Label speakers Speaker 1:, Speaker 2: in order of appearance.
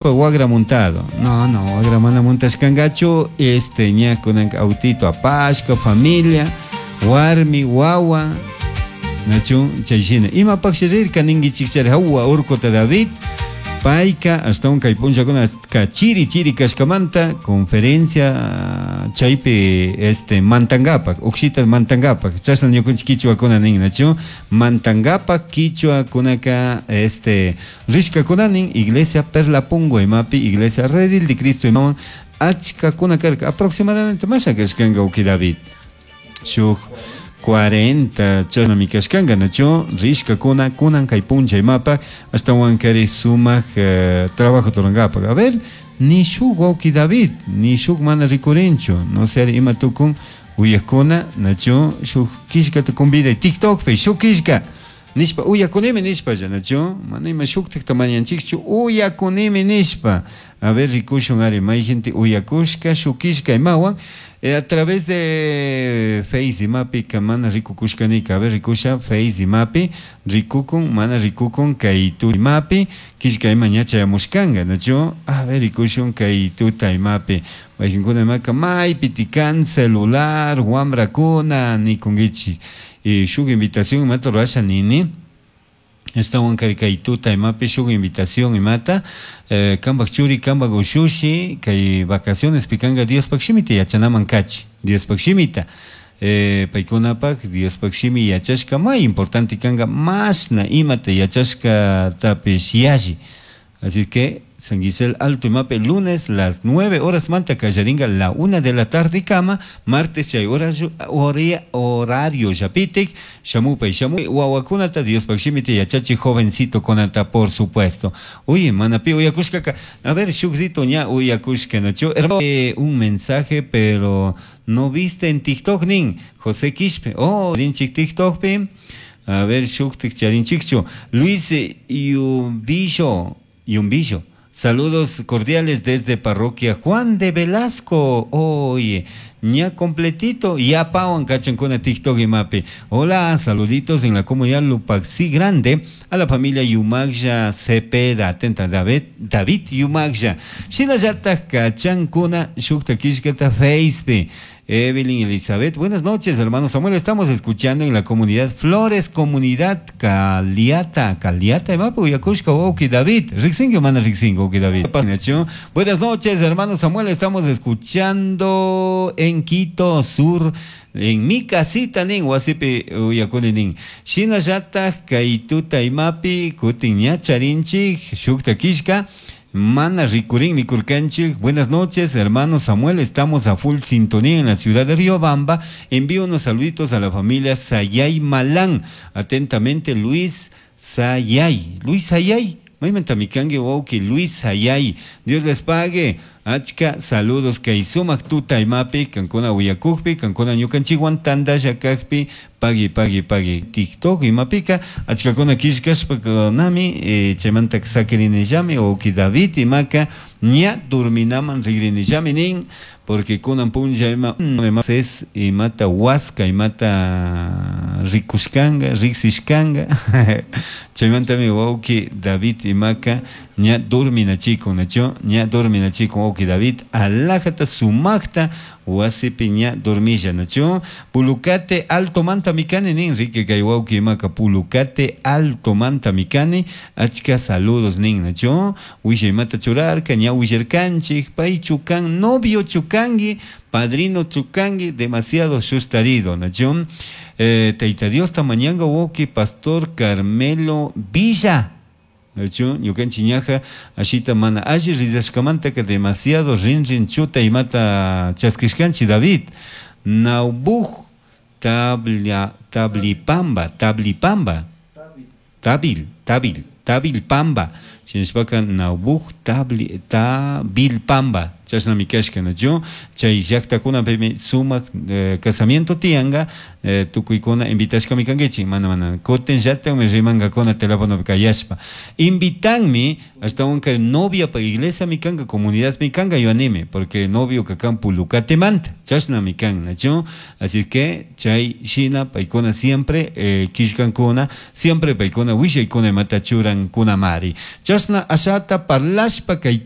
Speaker 1: Wagra montado. No, no, wagra mana montashkangachu. Este ña kunanka autito apashka, familia, warmi, wawa. Nachu chay shina. Imapaqshi rirka ninkichikchari hawa urkuta David. Payka ashtawan kay punllakunaka chiri chiri kashkamanta conferencia chaypi este mantangapak, ukshita mantangapak. Chashna ñukunchik kichwakuna nin, nachu mantangapak kichwakunaka este rishkakuna nin iglesia Perla Pungo imapi iglesia Redil de Cristo imawan achkakuna karka aproximadamente masha kashkanka uki David. Shuk 40 chashnami kashkanka nachu rishkakuna kunan kay punlla imapak ashtawan kari sumak trabajo turankapak. A ver, ni shuk wawki David, ni shuk mana rikurinchu, no sé ima tukun uyakuna nachu shuk killkata conviday TikTokpi shuk killka nishpa uyakunimi nishpa nachu mana ima shuktikta mañanchikchu uyakunimi nishpa. A ver, rikushun ari may gente uyakushka shuk killka imawan a través de Face imapika mana rikukushkanika. A ver, rikusha Face imapi rikukun mana rikukun kay tuta imapi killka ima ña chayamushkanka nachu. A ver, rikushun kay tuta imapi mayqinkuna imaka maypi tikan celular wamrakuna nikunkichik. Y shuk invitación imata rurasha nini. Ashtawan kari kay tuta imapi shuk invitación imata kanpak churi kanpak ushushi kay vacaciones pikanka Diospak shimita yachanaman kachi Diospak shimita paykunapak Diospak shimi yachashka may importante kanka mashna imata yachashkatapish yalli. Así que San Gisel Alto imapi lunes las 9 horas manta kallarinka la 1 de la tarde kama, martes chay horario llapitik shamupay shamuy wawakunata Diospak shimita yachachi jovencito kunata por supuesto. Uy, mana pi uyakushkaka. A ver, shukzito ña uyakushka nachu. Hermano, un mensaje, pero no viste en TikTok nin José Quispe. Oh, rinchik TikTokpi. A ver, shuktik charinchikchu. Luis Yumbillo, Yumbillo. Saludos cordiales desde Parroquia Juan de Velasco. Oye, ña completito. Ya pawan kachankuna TikTok y mapi. Hola, saluditos en la comunidad Lupaxi Grande. A la familia Yumagya Cepeda. Atenta, David, David Yumagya. Shinallata kachankuna shukta kishkata Facebook. Evelyn Elizabeth, buenas noches, hermano Samuel. Estamos escuchando en la comunidad Flores, comunidad Caliata, Caliata, imapi uyakushka wawki David, Rixingo, mana Rixingo, wawki David. Buenas noches, hermano Samuel. Estamos escuchando en Quito Sur, en mi casita nin, wasipi uyakuni nin. Shinallata kay tuta imapi, kutin ña charinchik, shukta kishka. Mana rikurin nikurkanchik. Buenas noches, hermano Samuel. Estamos a full sintonía en la ciudad de Riobamba. Envío unos saluditos a la familia Sayay Malán. Atentamente, Luis Sayay. Luis Sayay. Maymanta mikanki wawki Luis Sayay. Dios les pague. Achka saludos kay sumak tuta imapi kankuna uyakukpi kankuna ñukanchikwan tantalla kakpi pagui pagui pagui TikTok imapika achkakuna killkashpa nami chaymanta sakirinillami wawki David imaka ña durminaman rigrinillami nin porque kunan punlla ima es imata huasca imata rikushkanga riksishkanga chaymantami wawki David imaka ña durminachikun nachu ña durminachikun wawki David alajata sumakta wasipi ña dormilla nachu Pulucate Alto manta mikani nin Enrique kay wawki imaka Pulucate Alto manta mikani achka saludos nin nachu wisha imata churarka ña willarkanchik pay chukan novio chukangi padrino chukangi demasiado sustarido nachu Tayta Dios tamañanga wawki Pastor Carmelo Villa nachu ñukanchik ñaja ashita mana alli rillaskamantaka demasiado rinrin chuta imata chaskishkanchik David Naubuj tablia tablipamba tablipamba tabil tabil tabilpamba shinashpaka Naubuj tabli tabilpamba chashnami kashka nachu chay llaktakunapimi sumak casamiento tiyanka tukuykuna invitashkami kankichik mana mana kutin llatakmi rimankakuna telefonopi kayashpa invitanmi ashtawanka noviapa iglesia mi kanka comunidad mi kanka yuanimi porque novio kan Pulucatemanta chashnami kan nachu así que chay shina paykuna siempre killkankuna siempre paykuna willaykuna imata churankuna mari. Chashna Chashna ashata parlashpa kay.